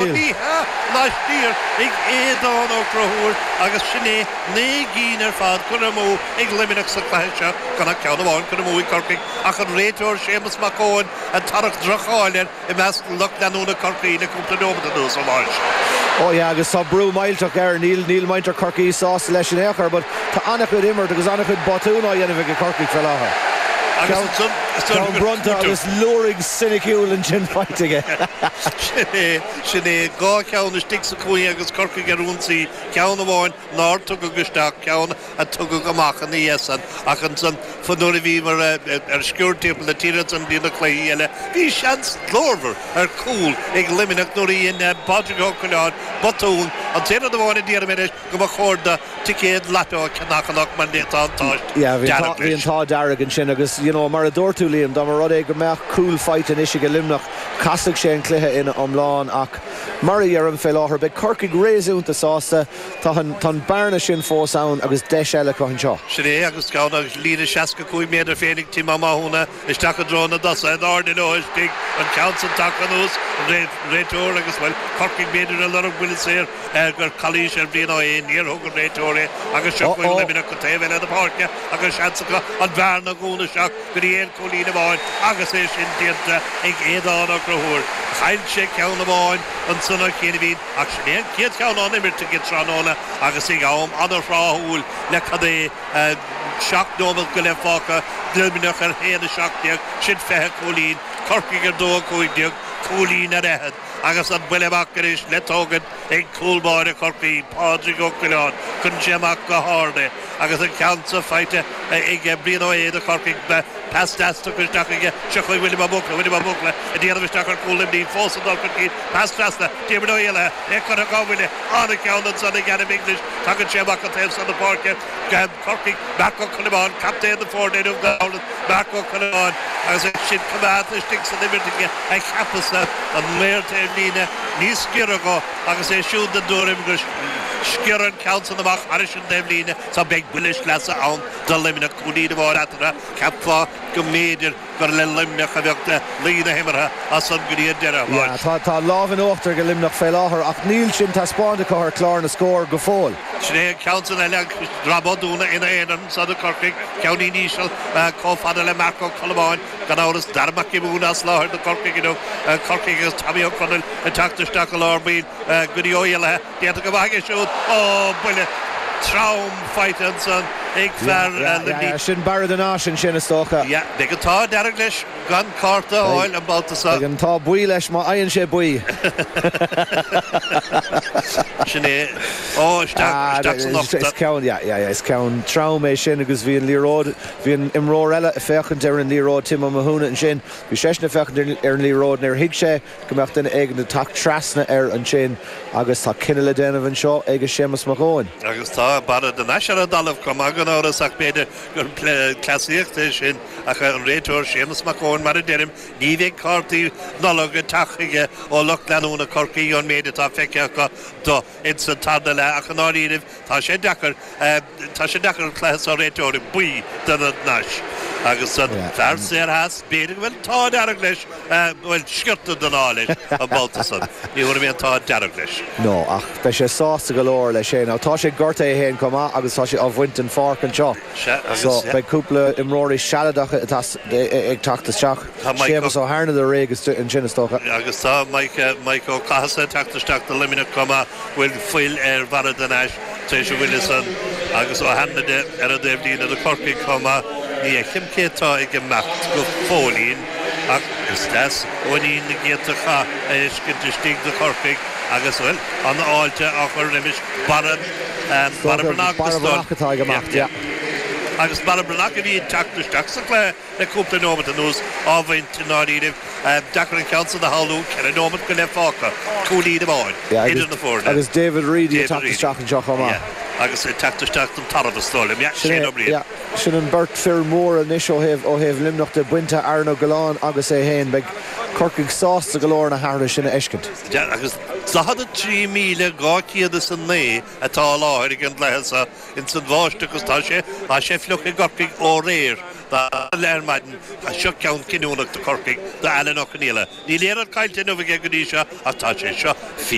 Ní hea, laistiar ag Aodán Ó Conchúir agus sin é 9 gcinn ar fad curtha amú ag Luimneach sa chluiche seo, gan ach ceann amháin curtha amú ag Corcaigh ach an réiteoir Séamus Mac Eoin ag tarrac droch-cháil air i measc lucht leanúna Chorcaí le cúpla nóiméad anuas, a Mháis. Oh yeah agus tá brú millteach air, níl níl muintir Chorcaí sásta leis in aon chor but tá an-chuid imirt agus an-chuid botún á dhéanamh ag Corcaigh fé láthair. Agus ansan, Ceann bronnta agus liúraigh soiniciúil ansin faighte aige. Sin é, sin é. 2 cheann istigh sa chúinne agus Corcaigh ar ionsaí, ceann amháin nár tugadh isteach, ceann a tugadh amach ina dhiaidh san. Ach ansan, nuair a bhíomar ar sciuird timpeall na tíre ansan go dtí na cluichí eile, bhí seans glórmhar ar chúl ag Luimneach nuair a dhein Pádraig Ó Coileáin botún. An t-aon rud amháin a déarfaidh mé leis, go mba chóir do ticéad lató a cheannach anocht mar tá an t-ádh Yeah, bhí dearg bhí an leis. t-ádh dearg ansin agus you know mar a dúirt tú Liam, dá mba rud é go mbeadh cúl faighte anois ag Luimneach, casfadh sé an cluiche ina iomlán ach mar a dheirim fé láthair beidh Corcaigh réasúnta sásta, tá an tá an bearna sin fós ann agus deis eile acu anseo. Sin é agus ceann agus líne 65 méadar féin ag Tim Ó Mathúna isteach i dtreo na dtosaithe in airde leo istigh, an ceann san tagtha anuas, an réiteoir agus bhuel Corcaigh b'fhéidir ag lorg buille saor. gur calaois ar Bhrian Ó hAodha, níor thug an réiteoir é agus seo chugainn Luimneach an taobh eile de páirce agus seans acu an bhearna a dhúnadh isteach go dtí aon chúilín amháin agus é sin déanta ag Aodán Ó Conchúir. Chaill sé ceann amháin ansan ó chianaibhín ach sin é an chéad cheann á n-imirt aige tráthnóna agus ag am an-thráthúil le cad é 7 nóiméad go leith fágtha, Luimneach ar 1-17, sin 20 cúilín, Corcaigh ar 2-15, cúilín ar fhichead. Agus an buille amach anois le tógaint ag cúl báire Chorcaí, Pádraig Ó Coileáin. Cuireann sé amach go hard é agus an ceann seo faighte ag Brian Ó hAodha do Chorcaigh. Pas deas tugtha isteach aige. Seo chugainn William Ó Buachalla. William Ó Buachalla ag déanamh isteach ar chúl Luimnigh. Fós ag dul chun cinn. Pas trasna. Diarmuid Ó hÉallaithe. É curtha dhá bhuille. An-cheann ansan ag Adam English. Tagann sé amach an taobh seo na páirce. Corcaigh, Marc Ó Colmáin, captaen na foirne inniu gan amhras, Marc Ó Colmáin agus é sin coimeádta istigh san imirt aige a cheapas-sa, an maor taobhlíne níos giorra dho agus é siúd den dtuairim gur sciorradh an ceann san amach thairis an dtaobhlíne so beidh buille sleasa ann do Luimneach, cúilín amháin eatarthu, cheapfá go mb'fhéidir gur le Luimneach a bheadh luí na himeartha as san go dtí an deireadh. Yeah, tá, tá lámh in uachtar ag Luimneach fé láthair ach níl sin taispeánta acu ar chlár na scór go fóill. Sin é an ceann san eile, Rob Ó Dúna ina aonar anso do Chorcaigh, ceainnín íseal chomh fada le Marc Ó Colmáin, gan amhras, Dara Mac Giobúin as láthair do Chorcaigh inniu, Corcaigh agus Tommy Ó Conaill ag teacht isteach i lár baill go dtí Ó hÉallaithe. Déanta go maith aige siúd. Ó, buille trom faighte ansan ag fear Luimnigh. Yeah, sin Barra de Nais ansin is dócha. Yeah, beidh an t-ádh dearg leis gan cárta a fháil an babhta seo. Beidh an t-ádh buí leis má fhaigheann sé buí. Sin é. Ó, isteach, isteach san uchtach. Is ceann, yeah, yeah, yeah, is ceann trom é sin agus bhí an liathróid, bhí an imreoir eile ag féachaint ar an liathróid, Tim Ó Mathúna ansin, bhí seisean ag féachaint ar an liathróid, níor thuig sé go mbeadh duine éigin ag teacht trasna air ansin agus tá cinneadh le déanamh anseo ag Séamus Mac Eoin. Agus tá Barra de Nais ar an dtalamh chomh maith gan amhras ach b'fhéidir gur cleasaíocht é sin ach an réiteoir Séamus Mac Eoin mar a deirim ní bheidh cártaí Nollag ag teacht chuige ó lucht leanúna Chorcaí ón méid atá feicthe acu do ins an tarna leath ach i ndáiríribh Tá sé deacair, tá sé deacair an cluiche seo a réiteoir buí do na Nais agus an fear saor theas, b'fhéidir go bhfuil an t-ádh dearg leis, bhuel, sciorta den ádh leis an babhta san. Ní thabharfaidh mé an t-ádh dearg leis. No, ach beidh sé sásta go leor leis féin. Now tá sé gortaithe é féin chomh maith agus tá sé á bhaint den pháirc anseo. Sea, agus, So, beidh cúpla imreoirí sealadacha ag teacht isteach. Tá Mike Séamus Ó hAirneada réidh ansin is dócha. Agus tá Mike, Mike Ó Cathasaigh ag teacht isteach do Luimneach chomh maith. bhfuil fuil ar Bharra de Nais tar éis an bhuille san agus Ó hAinmhide ar an dtaobhlíne do Chorcaigh chomh maith. Ní fheicim cé atá ag imeacht go fóillín ach is deas uainín na gcéadta cath a fheiscint istigh do Chorcaigh agus, bhuel, an-fháilte á chur roimis Barra Barra Breathnach Barra Breathnach atá ag imeacht, yeah. Agus Barra Breathnach a bhí ag teacht isteach sa chluiche Le cúpla nóimeat anuas á bhaint i ndáiríribh. Deacair an ceann san a shamhlú, 4 nóimeat go leith fágtha, cúilín amháin idir na foirne. Agus David Reidy ag teacht isteach anseo chomh maith. Agus ag teacht isteach don tarbh is dóigh liom. Sin é, sin an bheirt fir mhóra anois ó thaobh ó thaobh Luimneach de, bainte Aaron Ó Giolláin agus é féin. Beidh Corcaigh sásta go leor na hathruithe sin a fheiscint. Agus 43,209 atá i láthair ag an gcluiche seo ins an bháisteach agus tá sé, tá sé fliuch i gCorcaigh ó aréir. Leath ar maidin, seo ceann cinniúnach do Chorcaigh, do Alan Ó Conaola. Níl aon rud caillte inniu aige go dtí seo ach tá sé seo fíor.